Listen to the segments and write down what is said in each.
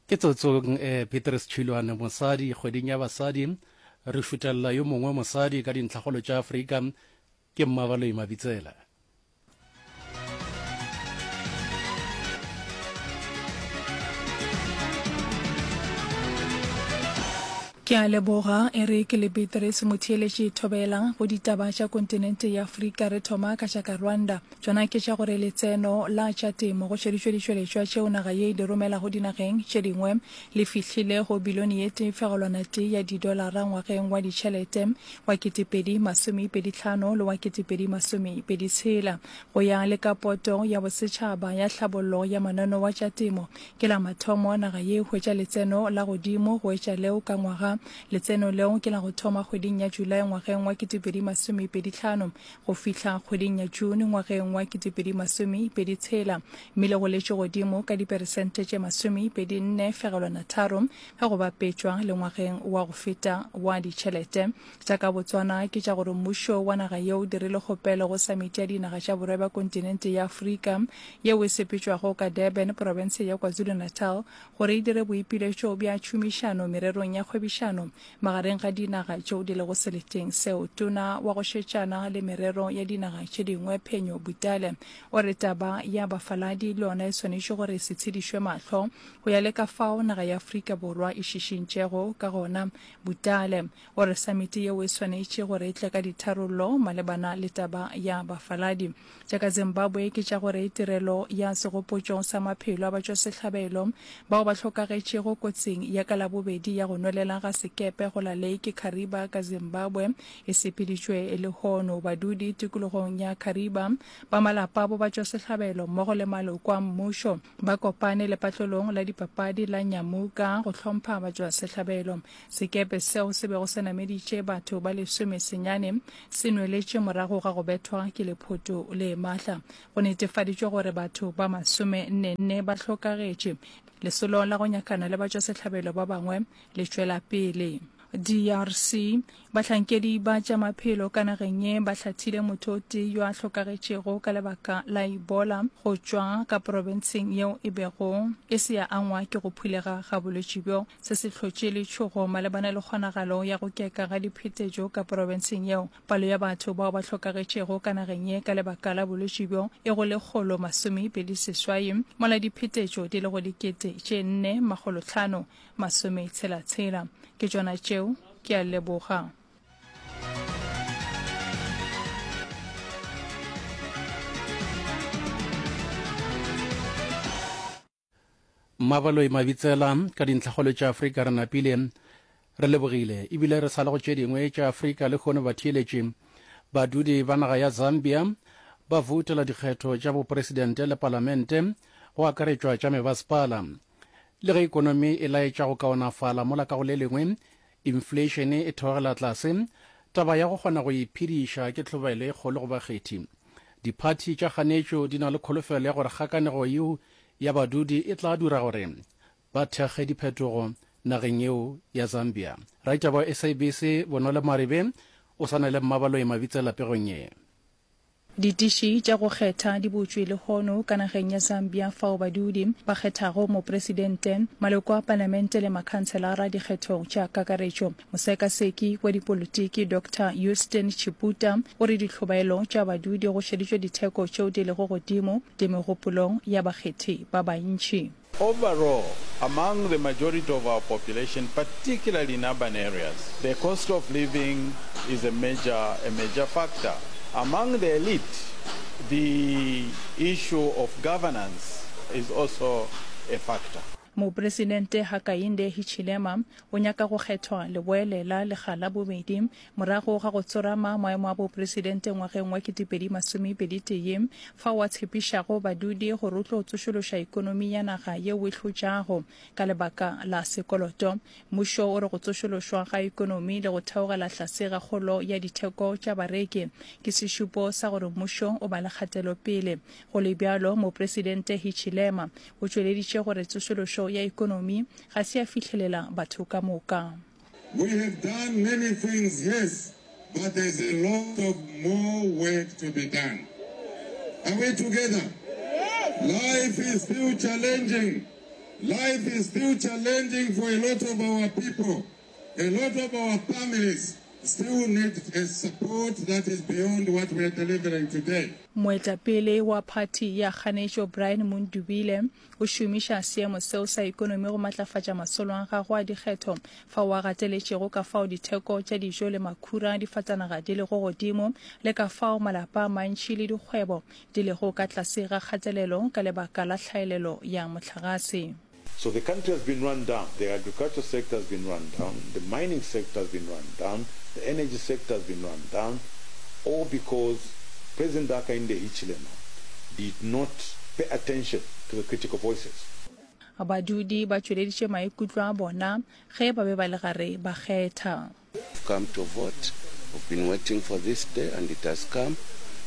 Ke tsotsong eh, Petrus Tšhilwane, mosadi, kgweding ya basadi, re šutelela yo mongwe mosadi ka dintlhakgolo tša Afrika, ke Mmabaloi Mabitsela. Ke a leboga, Eric le Beatrice Motheeletši Thobela go ditaba tša kontinente ya Afrika re thoma ka tša ka Rwanda. Tšona ke tša gore letseno la tša temo go šeditšwe ditšweletšwa tšeo naga ye e di romelago dinageng tše dingwe le fihlile go bilione ye tee fegelwana tee ya didolara ngwageng wa ditšhelete wa 2025 le wa 2026. Go ya le ka Poto ya Bosetšhaba ya Tlhabollo ya Mananeo wa tša Temo, ke la mathomo naga ye e hwetša letseno la godimo go etša leo ka ngwaga. Letseno leo ke la go thoma kgweding ya Julae ngwageng wa 2025 go fihla kgweding ya June ngwageng wa 2026 mme le goletše godimo ka diperesente tše 24 fegelwana 3 ge go bapetšwa le ngwageng wa go feta wa ditšhelete. Tša ka Botswana ke tša gore mmušo wa naga yeo o dirile kgopelo go Samiti ya Dinaga tša Borwa bja Kontinente ya Afrika yeo e sepetšwago ka Durban, profense ya KwaZulu-Natal gore e dire boipiletšo bja tšhomišano mererong ya kgwebišano magareng ga dinaga tšeo di lego seleteng seo. Tona wa go šetšana le merero ya dinaga tše dingwe Phenyo Butale o re taba ya bafaladi le yona e swanetše gore se tshedišwe mahlo go ya le ka fao naga ya Afrika Borwa e šišintšego ka gona. Butale o re samiti yeo e swanetše gore e tle ka ditharollo malebana le taba ya bafaladi. Tša ka Zimbabwe ke tša gore tirelo ya segopotšo sa maphelo a batšwasehlabelo bao ba hlokagetšego kotsing ya ka Labobedi ya go nwelela ga sekepe go la Lake Kariba ka Zimbabwe e sepeditšwe lehono. Badudi tikologong ya Kariba ba malapa a bo batšwasehlabelo mmogo le maloko a mmušo ba kopane lepatlelong la dipapadi la Nyamuka go hlompha batšwasehlabelo. Sekepe seo se bego se nameditše batho ba lesomesenyane se nweletše morago ga go bethwa ke lephoto le matla. Go netefaditšwe gore batho ba masomennenne ba hlokagetše. Lesolo la go nyakana le batšwasehlabelo ba bangwe le tšwela pele. DRC, Bahlankedi ba tša maphelo ka nageng ye ba hlathile motho o tee yo a hlokagetšego ka lebaka la Ebola go tšwa ka profenseng yeo e bego e se ya angwa ke go phulega ga bolwetši bjo. Se se hlotše letšhogo malebana le kgonagalo ya go keka ga diphetetšo ka profenseng yeo. Palo ya batho bao ba hlokagetšego ka nageng ye ka lebaka la bolwetši bjo e go 128, mola diphetetšo di le go 4566. Ke tšona tšeo, ke a leboga. Mmabaloi Mabitsela ka dintlhakgolo tša Afrika re napile re lebogile ebile re sa le go tše dingwe tša Afrika lehono batheeletši badudi ba naga ya Zambia ba voutela dikgetho tša bopresidente le palamente go akaretšwa tša mebasepala le ge ikonomi e laetša go kaonafala mola ka go le lengwe inflation e theogela tlase taba ya go kgona go iphediša ke tlhobaelo e kgolo go bakgethi diphathi tša kganetšo di na le kholofelo ya gore kgakanego yeo ya badudi e tla dira gore ba thekge diphetogo nageng yeo ya Zambia. Raitaba wa SABC Bonolo Maribe o swana le Mmabaloi Mabitsela pegong ye. Ditiši tša go kgetha di butšwe lehono ka nageng ya Zambia fao badudi ba kgethago mopresidente, maloko a palamente le makhanselara dikgethong tša kakaretšo. Mosekaseki wa dipolotiki Doctor Euston Chiputa o re dihlobaelo tša badudi go šeditšwe ditheko tšeo di lego godimo di megopolong ya bakgethi ba bantši. Overall, among the majority of our population, particularly in urban areas, the cost of living is a major, a major factor. Among the elite, the issue of governance is also a factor. Mopresidente Hakainde Hichilema o nyaka go kgethwa leboelela lekga la bobedi morago ga go tsorama maemo a bopresidente ngwageng wa 2021 fao a tshepišago badudi gore o tlo tsošološa ekonomi ya naga yeo e hlotšago ka lebaka la sekoloto. Mmušo o re go tsošološwa ga ekonomi le go theogela tlase ga kgolo ya ditheko tša bareki ke sešupo sa gore mmušo o ba le kgatelopele. Go le bjalo, Mopresidente Hichilema o tšweleditše gore tsošološo ya ekonomi ga se ya fihlelela batho ka moka. We have done many things, yes, but there's a lot of more work to be done. Are we together? Life is still challenging. Life is still challenging for a lot of our people. A lot of our families still need a support that is beyond what we are delivering today. Moetapele wa phathi ya kganetšo Brian Mundubile o šomiša seemo seo sa ekonomi go matlafatša masolo a gagwe a dikgetho fao a gateletšego ka fao ditheko tša dijo le makhura a difatanaga di lego godimo le ka fao malapa a mantši le dikgwebo di lego ka tlase ga kgatelelo ka lebaka la tlhaelelo ya mohlagase. So the country has been run down, the agriculture sector has been run down, the mining sector has been run down, the energy sector has been run down, all because President Hakainde Hichilema did not pay attention to the critical voices. Badudi ba tšweleditše maikutlo a bona ge ba be ba le gare ba kgetha. We've come to vote, we've been waiting for this day and it has come,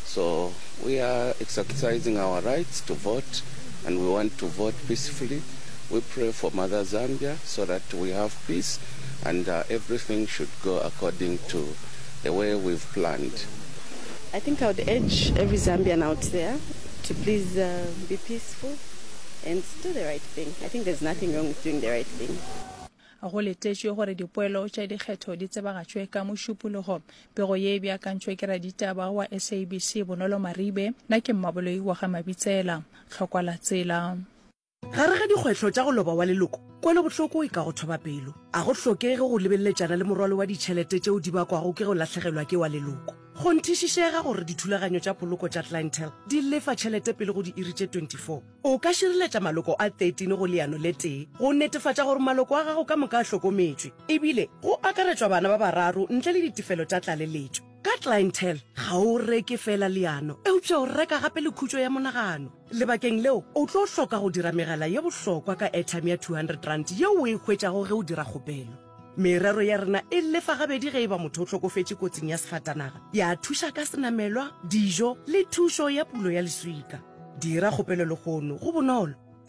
so we are exercising our rights to vote and we want to vote peacefully. We pray for Mother Zambia so that we have peace and uh, everything should go according to the way we've planned. I think I would urge every Zambian out there to please uh, be peaceful and do the right thing. I think there's nothing wrong with doing the right thing. Go letetšwe gore dipoelo tša dikgetho di tsebagatšwe ka Mošupologo. Pego ye e beakantšwe ke raditaba wa SABC Bonolo Maribe. Nna ke Mmaboloi wa ga Mabitsela. Tlhokwa la tsela. Gare ga dikgwetlho tša go loba wa leloko, kwelobohloko e ka go thoba pelo. A go hlokege go lebeleletšana le morwalo wa ditšhelete tšeo di bakwago ke go lahlegelwa ke wa leloko. Kgonthišišega gore dithulaganyo tša poloko tša Clientele di lefa tšhelete pele go diiri tše 24. O ka šireletša maloko a 13 go leano le tee go netefatša gore maloko a gago ka moka a hlokometšwe, ebile go akaretšwa bana ba bararo ntle le ditefelo tša tlaleletšo. Ka Clientele, ga o reke feela leano, eupša o reka gape le khutšo ya monagano. Lebakeng leo, o tlo hloka go dira megala ye bohlokwa ka airtime ya R200 yeo o e hwetšago ge o dira kgopelo. Merero ya rena e lefa gabedi ge e ba motho o hlokofetše kotsing ya sefatanaga, ya thuša ka senamelwa, dijo le thušo ya pulo ya leswika. Dira kgopelo lehono, go bonolo.